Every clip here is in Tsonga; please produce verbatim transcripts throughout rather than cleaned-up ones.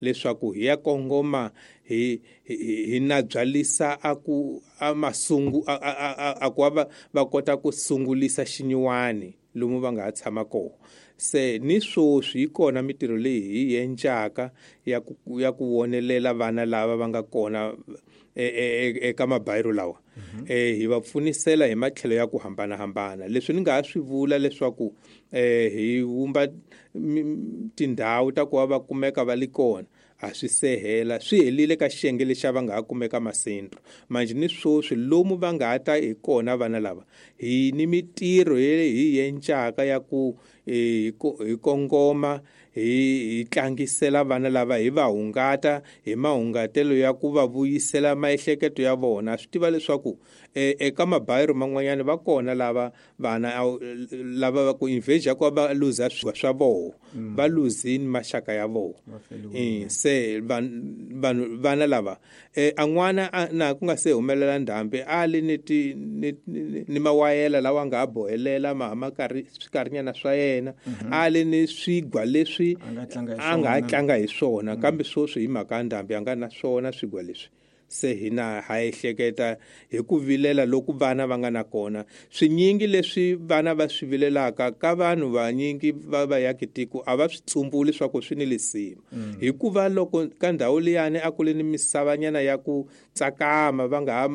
Leswaku hi ya kongoma hi hi na byalisa a ku a masungu a a a ku va va kota ku sungulisa xinyiwani lomu va nga ha tshama kona. Se ni swoswi yi kona mitirho leyi hi yencaka ya ku ya ku vonelela vana lava va nga kona eka mabayiro lawa. Eh hi va pfunisela hi matlhelo ya ku hambanahambana. Leswi ni nga ha swi vula leswaku eh hi vumba tindhawu ta ku va va kumeka va li kona a swi sehela swi helile ka xiyenge lexi va nga ha kumeka masentro. Manje ni swoswi lomu va nga ha ta hi kona vana lava hi ni mitirho hi yencaka ya ku hi kongoma hi tlangisela vana lava hi va hungata hi mahungatelo ya ku va vuyisela maehleketo ya vona. Swi tiva leswaku eka mabayiro man'wanyana va kona lava vana lava va ku invasion ku va luza swa voho va luzini maxaka ya voho. Se vanhu vana lava an'wana na ku nga se humelela ndhambi a li ni ti ni mawayela lawa nga ha bohelela ma ma karhi swikarhinyana swa yena a li ni swigwa leswi a nga ha tlanga hi swona kambe swoswi hi mhaka ya ndhambi a nga na swona swigwa leswi. Se hina ha ehleketa hi ku vilela loku vana va nga na kona. Swinyingi leswi vana va swi vilelaka ka vanhu vanyingi va va yaki tiko a va swi tsumbuli leswaku swi ni lisima. Hikuva loko ka ndhawu liyani a ku li ni misavanyana ya ku tsakama va nga ha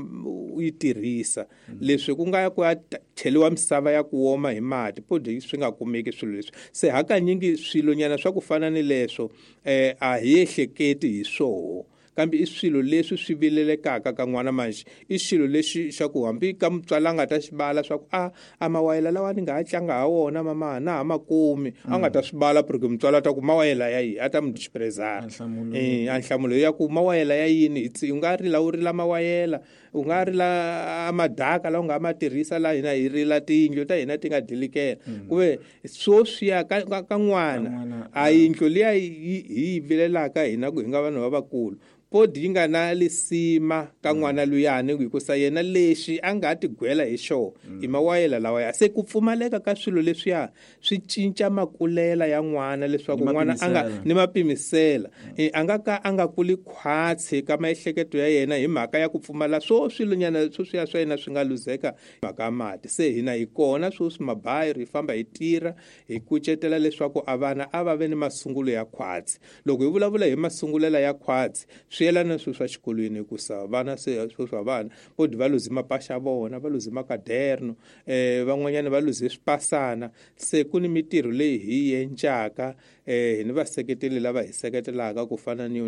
yi tirhisa leswi ku nga ya ku ya cheliwa misava ya ku woma hi mati podi swi nga kumeki swilo leswi. Se hakanyingi swilonyana swa ku fana ni leswo eh a hi ehleketi hi swoho kambe i swilo leswi swi vilelekaka ka n'wana. Manje i xilo lexi xa ku hambi ka mutswari a nga ta xi bala swa ku a a mawayela lawa ni nga ha tlanga ha wona mama na ha ma kumi a nga ta swi bala porque mutswari a ta ku mawayela ya yini a ta mu disprezara eh a nhlamulo ya ku mawayela ya yini u nga rila u rila mawayela u nga rila madaka lawa u nga ma tirhisa la hina hi rila tiyindlu ta hina ti nga dilikela kuve swoswiya ka ka n'wana a yindlu liya hi yi vilelaka hina ku hi nga vanhu lavakulu podi yi nga na lisima ka n'wana luyani hikusa yena lexi a nga tigwela hi xona i mawayela lawa ya. Se ku pfumaleka ka swilo leswiya swi cinca makulela ya n'wana leswaku n'wana a nga ni mapimisela a nga ka a nga kuli khwatsi ka maehleketo ya yena hi mhaka ya ku pfumala swo swilonyana sweswiya swa yena swi nga luzeka mhaka ya mati. Se hina hi kona sweswi mabayiro hi famba hi tirha hi kucetela leswaku a vana a va ve ni masungulo ya khwatsi. Loko hi vulavula hi masungulela ya khwatsi swi yelana swilo swa xikolweni hikusa vana se sweswi vana podi va luze mapasha vona va luze makaderno eh van'wanyana va luze swipasana. Se ku ni mitirho leyi hi yencaka eh hi ni vaseketeli lava hi seketelaka ku fana ni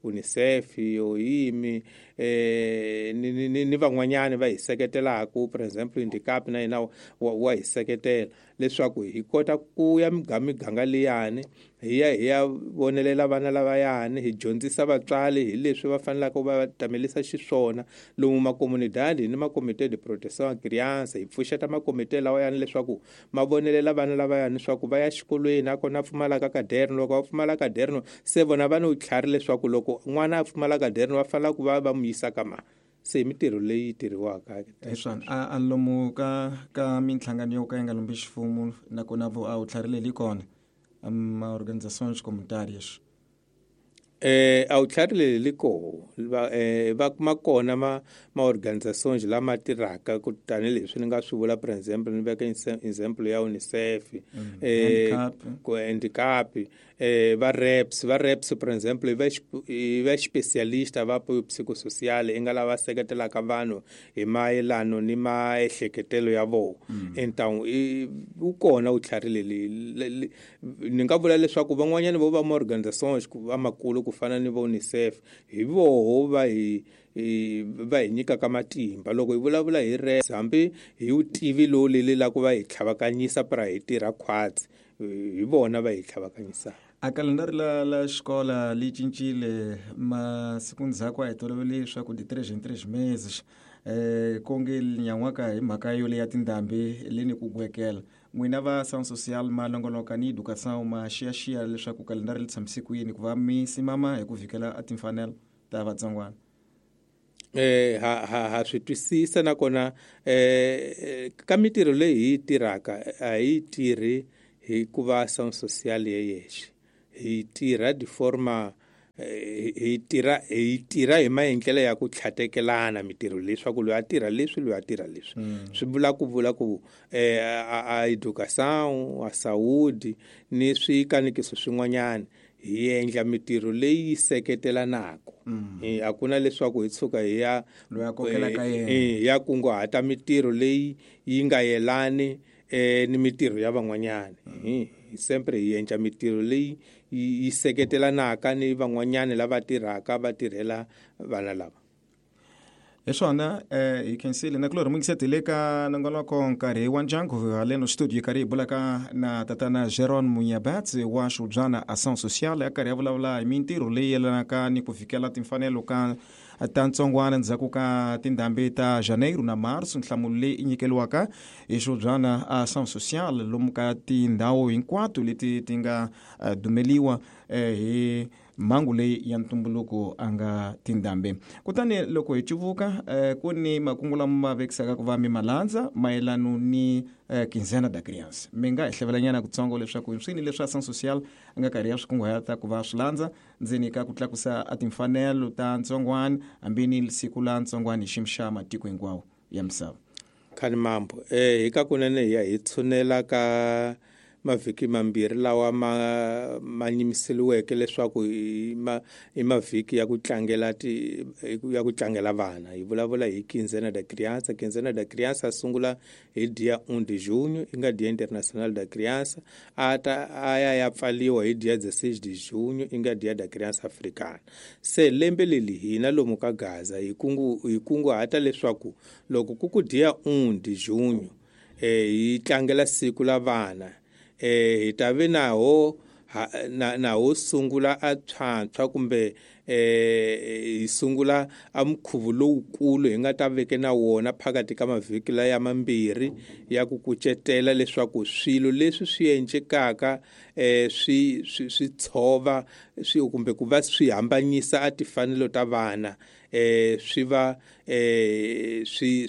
UNICEF yo yimi eh ni ni ni van'wanyana va hi seketelaka for example Indicap na yena wa hi seketela leswaku hi kota ku ya miganga liyani hi ya hi ya vonelela vana lavayani hi dyondzisa vatswari hi leswi va fanelaka va tamelisa xiswona lomu makomunidadi ni makomite de protection criança hi pfuxeta makomite lawa yani leswaku ma vonelela vana lavayani leswaku va ya xikolweni a kona pfumalaka kaderno. Loko va pfumala kaderno se vona va ni vutlhari leswaku loko n'wana a pfumala kaderno va fanela ku va va mu yisa ka ma. Se mitirho leyi tirhiwaka hi swona a lomu ka ka minhlangano yo ka yi nga lombi ximfumo nakona vo a vutlhari leyi kona ma organizações comunitárias eh a vutlhari leyi li koho va eh va kuma kona ma ma organizações lama tirhaka ku tanihileswi ni nga swi vula for example ni veka example ya UNICEF eh ku handicap eh va reps va reps for example va va specialista va psychosocial i nga lava seketelaka vanhu hi mayelano ni maehleketelo ya vona. Entangu wu kona vutlhari leyi ni nga vula leswaku van'wanyana vo va ma organizações va makulu ku fana ni vo UNICEF hi voho va hi va hi nyikaka matimba. Loko hi vulavula hi reps hambi hi vutivi lowu leli la ku va hi tlhavakanyisa pra hi tirha khwatsi hi vona va hi tlhavakanyisaka. A kalendari la la xikola li cincile masiku ndzhaku a hi tolovele leswaku de três em três meses eh konge nyan'waka hi mhaka yo leya tindhambi leni ku gwekela n'wina va ação social ma longoloka ni educação ma xiyaxiya leswaku kalendari li tshamise ku yini ku va mi simama hi ku vhikela a timfanelo ta vatsongwana. Eh ha ha ha swi twisisa nakona eh ka mitirho leyi hi yi tirhaka a hi tirhi hikuva ação social ye yexe hi tirha de forma hi tirha hi tirha hi maendlelo ya ku tlhatekelana mitirho leswaku loyi a tirha leswi loyi a tirha leswi swi vula ku vula ku eh a education a saúde ni swikanikiso swin'wanyana hi endla mitirho leyi seketelanaka eh a ku na leswaku hi tshuka hi ya loyi a kokelaka yena eh ya kunguhata mitirho leyi yi nga yelani eh ni mitirho ya van'wanyana eh sempre hi endla mitirho leyi yi seketelanaka ni van'wanyana lava tirhaka va tirhela vana lava. Hi swona eh hi khensile na kulorhi mungisetele ka nongonoko nkarhi wa ndyangu haleno studio yi karhi hi bulaka na tatana Jeron Munyabatsi wa Xubyana Ação Social ya karhi ya vulavula hi mintirho leyi yelanaka ni ku fikela timfanelo ka ta ntsongwana ndzhaku ka tindhambi ta Janeiro na Marso. Nhlamulo leyi i nyikeliwaka hi Xubyana Ação Social lomu ka tindhawu hinkwato leti ti nga dumeliwa hi mhangu leyi ya ntumbuluko a nga tindhambi. Kutani loko hi cuvuka eh, ku ni makungu lama ma vekisaka ku va mi malandza mayelano ni eh, Quinzena da Criança. Mi nga hi hlevelanyana kutsongo leswaku swini leswi Ação Social a nga karhi ya swi kunguhata ku va swi landza ndzeni ka ku tlakusa a timfanelo ta ntsongwana hambi ni siku la ntsongwana hi xiyimo xa matiko hinkwawo ya misava. Khani mambo eh hi ka kunene hi ya hi tshunela ka mavhiki mambirhi lawa ma ma nyimiseliweke leswaku i ma i mavhiki ya ku tlangela ti ya ku tlangela vana. Hi vulavula hi Quinzena da Criança. Quinzena da Criança sungula hi dia um de junho, i nga Dia Internacional da Criança, a ta a ya ya pfaliwa hi dia dezesseis de junho, i nga Dia da Criança Africana. Se lembe leli hina lomu ka Gaza hi kungu hi kunguhata leswaku loko ku ku dia um de junho eh hi tlangela siku la vana eh hi ta ve naho na na ho sungula a tshwantshwa kumbe eh hi sungula a mukhuvu lowukulu hi nga ta veke na wona phakathi ka mavhiki laya mambirhi ya ku kucetela leswaku swilo leswi swi endlekaka eh swi swi tshova swi kumbe ku va swi hambanyisa a timfanelo ta vana eh swi va eh swi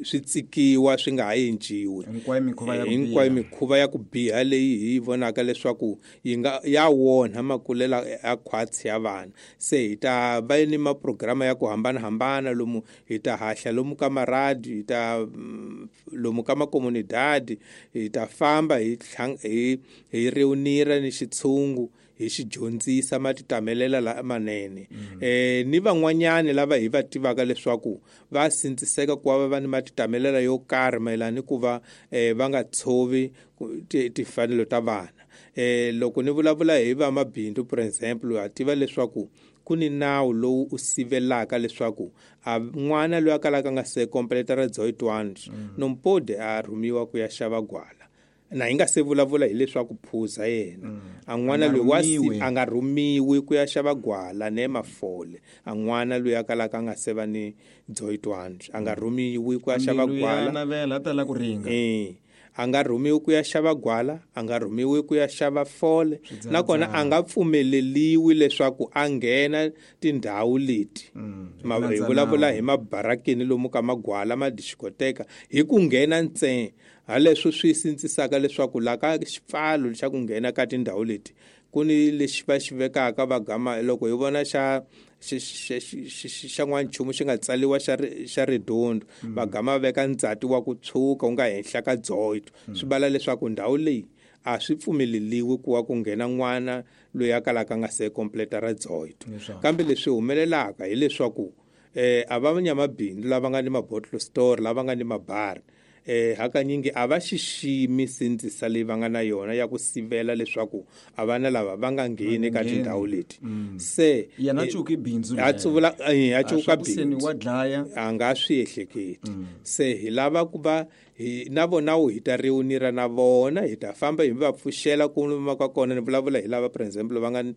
swi tsikiwa swi nga ha endliwi. Hinkwayo mikhuva ya ku hinkwayo mikhuva ya ku biha leyi hi vonaka leswaku yi nga ya wonha makulela ya khwatsi ya vana. Se hi ta va ni maprograma ya ku hambanahambana lomu hi ta hahla lomu ka maradi, hi ta lomu ka makomunidadi, hi ta famba hi hi hi reunira ni xitshungu hi xi dyondzisa matitamelela lamanene eh ni van'wanyana lava hi va tivaka leswaku va sindziseka ku va va ni matitamelela yo karhi mayelana ni ku va eh va nga tshovi timfanelo ta vana. Eh loko ni vulavula hi va mabindzu for example, ha tiva leswaku ku ni nawu lowu u sivelaka leswaku a n'wana loyi a kalaka nga se completa ra dezoito anos não pode a rhumiwa ku ya xava gwala. Na hi nga se vulavula hileswaku phuza yena a n'wana loyi wa a nga rhumiwi ku ya xava gwala ne mafole, a n'wana loyi a kalaka a nga se va ni dezoito anos a nga rhumiwi ku ya xava gwala navela ta la ku ringa eh a nga rhumiwi ku ya xava gwala, a nga rhumiwi ku ya xava fole, nakona a nga pfumeleliwi leswaku a nghena tindhawu leti. Hi vulavula hi mabarakeni lomu ka magwala madixikoteka hi ku nghena ntsena haleswo swi sindzisaka leswaku la ka xipfalo xa ku nghena ka tindhawu leti ku ni lexi va xi vekaka va gama loko hi vona xa xa n'wanchumu xi nga tsaliwa xa xa ridondo va gama veka ndzati wa ku tshuka wu nga henhla ka dezoito swi vala leswaku ndhawu leyi a swi pfumeleliwi ku wa ku nghena n'wana loyi a kalaka nga se completa ra dezoito. Kambe leswi humelelaka hileswaku eh a va nyamabindzu lava nga ni mabottle store lava nga ni mabari eh hakanyingi a va xiximi sindzisa leyi va nga na yona ya ku sivela leswaku a vana lava va nga ngheni ka tindhawu leti. Se yena cuki bindzu a tsuvula a cuka bindzu wa dlaya a nga swi ehleketi. Se hi lava ku va hi na vona wu hi ta reunira na vona hi ta famba hi va pfuxela ku ka kona. Ni vulavula hi lava for example va nga ni,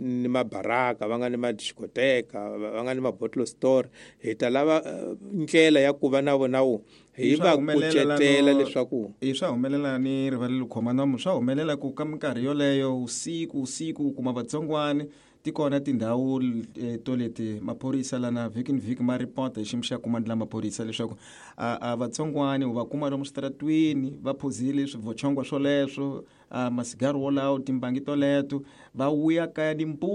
ni mabaraka va nga ni madixikoteka va nga ni mabottle store, hi ta lava ndlela ya ku va na vona wu Hi Swa va humelela kucetela no- leswaku e swa humelela ni rivalelo khoma nomu swa humelela ku ka minkarhi yoleyo usiku usiku u kuma vatsongwani ti kona tindhawu eh, to leti maphorisa lana vhiki ni vhiki ma ripota hi xiyimo xa kumandi la maphorisa leswaku a, a vatsongwani u va kuma lomu switaratwini va phuzile swivochongwa swoleswo a masigari wolawo timbangi toleto va vuya kaya nimpundzu.